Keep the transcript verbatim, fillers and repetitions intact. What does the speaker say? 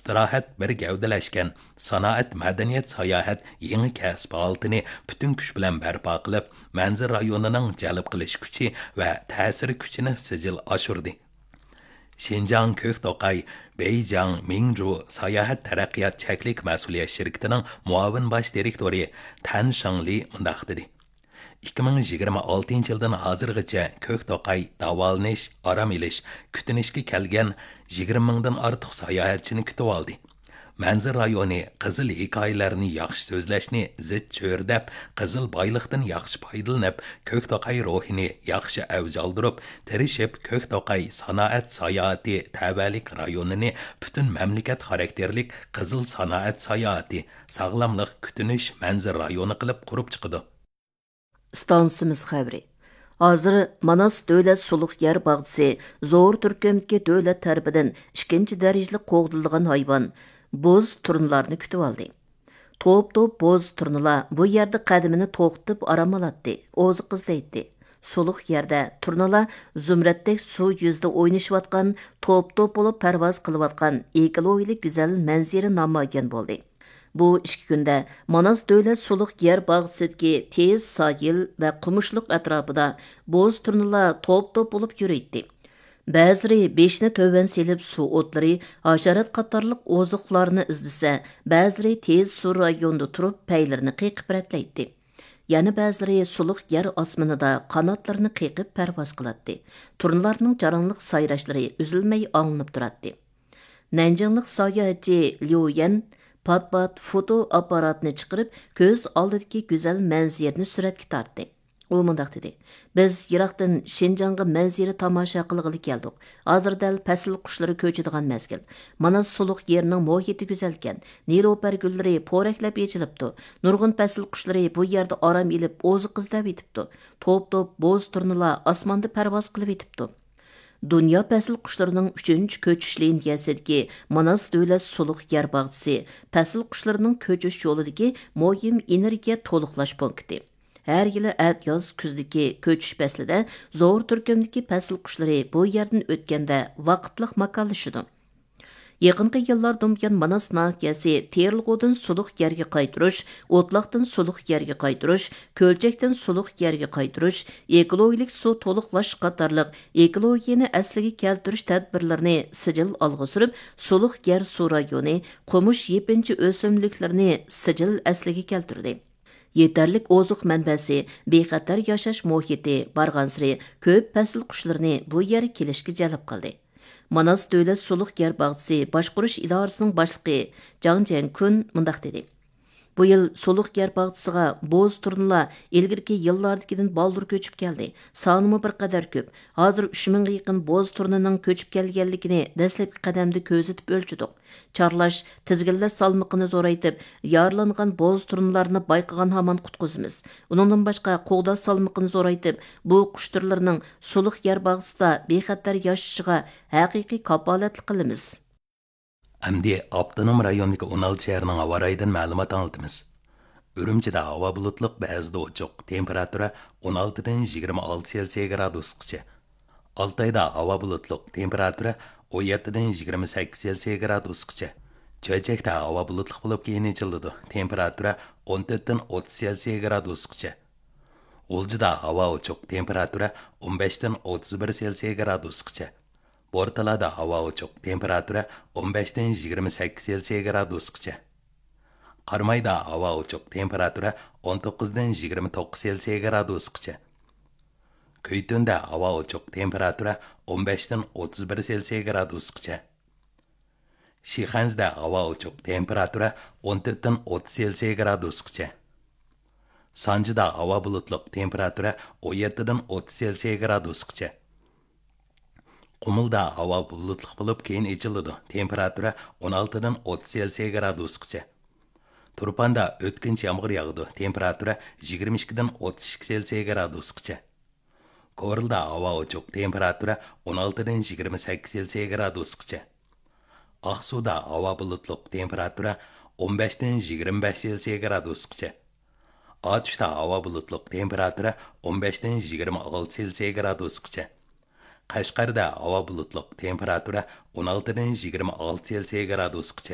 ئىستىراھەت بىر گەۋدىلەشكەن، سانائەت، مەدەنىيەت، ساياھەت يېڭى كەسىپ ھالىتىنى پۈتۈن كۈچ بىلەن بەرپا قىلىپ، مەنزىرە رايونىنىڭ جەلپ قىلىش كۈچى ۋە تەسىر كۈچىنى سىجىل ئاشۇردى. شىنجاڭ كۆك توقاي بېيجىڭ مىڭجۇ ساياھەت تەرەققىيات چەكلىك مەسئۇلىيەت شىركىتىنىڭ مۇئاۋىن باش دىرېكتورى تەن شاڭلى مۇنداق دېدى: «ئىككى مىڭ يىگىرمە ئالتىنچى يىلدىن ھازىرغىچە كۆك توقاي داۋالىنىش، ئارام ئېلىش، كۈتۈنۈشكە كەلگەن يىگىرمە مىڭدىن ئارتۇق ساياھەتچىنى كۈتۈۋالدى. مەنزىرە رايونى قىزىل ھېكايىلەرنى ياخشى سۆزلەشنى زىچ چۆرىدەپ، قىزىل بايلىقتىن ياخشى پايدىلىنىپ، كۆك توقاي روھىنى ياخشى ئەۋج ئالدۇرۇپ، تىرىشىپ كۆك توقاي سانائەت ساياھىتى تەۋەلىك رايونىنى پۈتۈن مەملىكەت خاراكتېرلىك قىزىل سانائەت ساياھىتى، ساغلاملىق، كۈتۈنۈش، مەنزىرە رايونى قىلىپ قۇرۇپ چىقىدۇ.» ئىستانسىمىز خەۋىرى. ھازىر ماناس دۆلەت سۇلۇق يەر باغچىسى زور تۈركۈمدىكى دۆلەت تەرىپىدىن ئىككىنچى دەرىجىلىك قوغدىلىدىغان ھايۋان، بوز تۇرنىلارنى كۈتۈۋالدى. توپ-توپ بوز تۇرنىلار بۇ يەردە قەدىمىنى توختىتىپ ئارام ئالاتتى، ئوزۇق ئىزدەيتتى. سۇلۇق يەردە تۇرنىلار زۇمرەتتەك سۇ يۈزىدە ئوينىشىۋاتقان، توپ-توپ بولۇپ پەرۋاز قىلىۋاتقان ئېكولوگىيەلىك گۈزەل مەنزىرە نامايان بولدى. بۇ ئىككى كۈندە ماناس دۆلەت سۇلۇق يەر باغچىسىدىكى تېز ساھىل ۋە قومۇشلۇق ئەتراپىدا بوز تۇرنىلار توپ-توپ بولۇپ يۈرۈيتتى. بەزىلىرى بېشىنى تۆۋەن سېلىپ سۇ ئوتلىرى، ھاشارات قاتارلىق ئوزۇقلارنى ئىزدىسە، بەزىلىرى تېز سۇ رايونىدا تۇرۇپ پەيلىرىنى قېقىپ رەتلەيتتى. يەنە بەزىلىرى سۇلۇق يەر ئاسمىنىدا قاناتلىرىنى قېقىپ پەرۋاز قىلاتتى. تۇرنىلارنىڭ جاراڭلىق سايراشلىرى ئۈزۈلمەي ئاڭلىنىپ تۇراتتى. نەنجىڭلىق ساياھەتچى ليۇ يەن پات-پات فوتو ئاپپاراتىنى چىقىرىپ، كۆز ئالدىدىكى گۈزەل مەنزىرىنى سۈرەتكە تارتتى. ئۇ مۇنداق دېدى: «بىز يىراقتىن شىنجاڭغا مەنزىرە تاماشا قىلغىلى كەلدۇق. ھازىر دەل پەسىل قۇشلىرى كۆچىدىغان مەزگىل. ماناس سۇلۇق يېرىنىڭ مۇھىتى گۈزەلكەن. نېلۇپەر گۈللىرى پورەكلەپ ئېچىلىپتۇ. نۇرغۇن پەسىل قۇشلىرى بۇ يەردە ئارام ئېلىپ، ئوزۇق ئىزدەۋېتىپتۇ. توپ-توپ بوز تۇرنىلار ئاسماندا پەرۋاز قىلىۋېتىپتۇ.» دۇنيا پەسىل قۇشلىرىنىڭ ئۈچىنچى كۆچۈش لىنىيەسىدىكى ماناس دۆلەت سۇلۇق يەر باغچىسى پەسىل قۇشلىرىنىڭ كۆچۈش يولىدىكى مۇھىم ئېنېرگىيە تولۇقلاش پونكىتى. ھەر يىلى ئەتىياز كۈزدىكى كۆچۈش پەسلىدە زور تۈركۈمدىكى پەسىل قۇشلىرى بۇ يەردىن ئۆتكەندە ۋاقىتلىق ماكانلىشىدۇ. يېقىنقى يىللاردىن بۇيان ماناس ناھىيەسى تېرىلغۇدىن سۇلۇق يەرگە قايتۇرۇش، ئوتلاقتىن سۇلۇق يەرگە قايتۇرۇش، كۆلچەكتىن سۇلۇق يەرگە قايتۇرۇش، ئېكولوگىيەلىك سۇ تولۇقلاش قاتارلىق ئېكولوگىيەنى ئەسلىگە كەلتۈرۈش تەدبىرلىرىنى سىجىل ئالغا سۈرۈپ، سۇلۇق يەر سۇ رايونى، قومۇش يېپىنچا ئۆسۈملۈكلىرىنى سىجىل ئەسلىگە كەلتۈردى. يېتەرلىك ئوزۇق مەنبەسى، بىخەتەر ياشاش مۇھىتى بارغانسېرى كۆپ پەسىل قۇشلىرىنى بۇ يەرگە كېلىشكە جەلپ قىلدى. ماناس دۆلەت سۇلۇق يەر باغچىسى باشقۇرۇش ئىدارىسىنىڭ باشلىقى جاڭ جيەنكۈن مۇنداق دېدى: «بۇ يىل سۇلۇق يەر باغچىسىغا بوز تۇرنىلار ئىلگىرىكى يىللاردىكىدىن بالدۇر كۆچۈپ كەلدى. سانىمۇ بىر قەدەر كۆپ. ھازىر ئۈچ مىڭغا يېقىن بوز تۇرنىنىڭ كۆچۈپ كەلگەنلىكىنى دەسلەپكى قەدەمدە كۆزىتىپ ئۆلچىدۇق. چارلاش، تىزگىنلەش سالمىقىنى زورايتىپ، يارىلانغان بوز تۇرنىلارنى بايقىغان ھامان قۇتقۇزىمىز. ئۇنىڭدىن باشقا، قوغداش سالمىقىنى زورايتىپ، بۇ قۇش تۈرلىرىنىڭ سۇلۇق يەر باغچىسىدا بىخەتەر ياشىشىغا ھەقىقىي كاپالەتلىك قىلىمىز.» ئەمدى ئاپتونوم رايوندىكى ئون ئالتە شەھەرنىڭ ھاۋا رايىدىن مەلۇمات ئاڭلىتىمىز. ئۈرۈمچىدە ھاۋا بۇلۇتلۇق، بەزىدە ئوچۇق، تېمپېراتۇرا ئون ئالتىدىن يىگىرمە ئالتە سېلسىيە گرادۇسقىچە. ئالتايدا ھاۋا بۇلۇتلۇق، تېمپېراتۇرا ئون يەتتىدىن يىگىرمە سەككىز سېلسىيە گرادۇسقىچە. چۆچەكتە ھاۋا بۇلۇتلۇق بولۇپ، كېيىن ئېچىلىدۇ، تېمپېراتۇرا ئون تۆتتىن ئوتتۇز سېلسىيە گرادۇسقىچە. غۇلجىدا ھاۋا ئوچۇق، تېمپېراتۇرا ئون بەشتىن ئوتتۇز بىر سېلسىيە گرادۇسقىچە. بورتالادا ھاۋا ئوچۇق، تېمپېراتۇرا ئون بەشتىن يىگىرمە سەككىز سېلسىيە گرادۇسقىچە. قارامايدا ھاۋا ئوچۇق، تېمپېراتۇرا ئون توققۇزدىن يىگىرمە توققۇز سېلسىيە گرادۇسقىچە. كۈيتۈندە ھاۋا ئوچۇق، تېمپېراتۇرا ئون بەشتىن ئوتتۇز بىر سېلسىيە گرادۇسقىچە. شىخەنزىدە ھاۋا ئوچۇق، تېمپېراتۇرا ئون تۆتتىن ئوتتۇز سېلسىيە گرادۇسقىچە. سانجىدا ھاۋا بۇلۇتلۇق، تېمپېراتۇرا ئون يەتتىدىن ئوتتۇز سېلسىيە گرادۇسقىچە. قۇمۇلدا ھاۋا بۇلۇتلۇق بولۇپ، كېيىن ئېچىلىدۇ، تېمپېراتۇرا ئون ئالتىدىن ئوتتۇز سېلسىيە گرادۇسقىچە. تۇرپاندا ئۆتكۈنچى يامغۇر ياغىدۇ، تېمپېراتۇرا يىگىرمە ئىككىدىن ئوتتۇز ئىككى سېلسىيە گرادۇسقىچە. كورلىدا ھاۋا ئوچۇق، تېمپېراتۇرا ئون ئالتىدىن يىگىرمە سەككىز سېلسىيە گرادۇسقىچە. ئاقسۇدا ھاۋا بۇلۇتلۇق، تېمپېراتۇرا ئون بەشتىن يىگىرمە بەش سېلسىيە گرادۇسقىچە. ئاتۇشتا ھاۋا بۇلۇتلۇق، تېمپېراتۇرا ئون بەشتىن يىگىرمە ئالتە سېلسىيە گرادۇسقىچە. قەشقەردە ھاۋا بۇلۇتلۇق، تېمپېراتۇرا ئون ئالتىدىن يىگىرمە ئالتە سېلسىيە گرادۇسقىچە.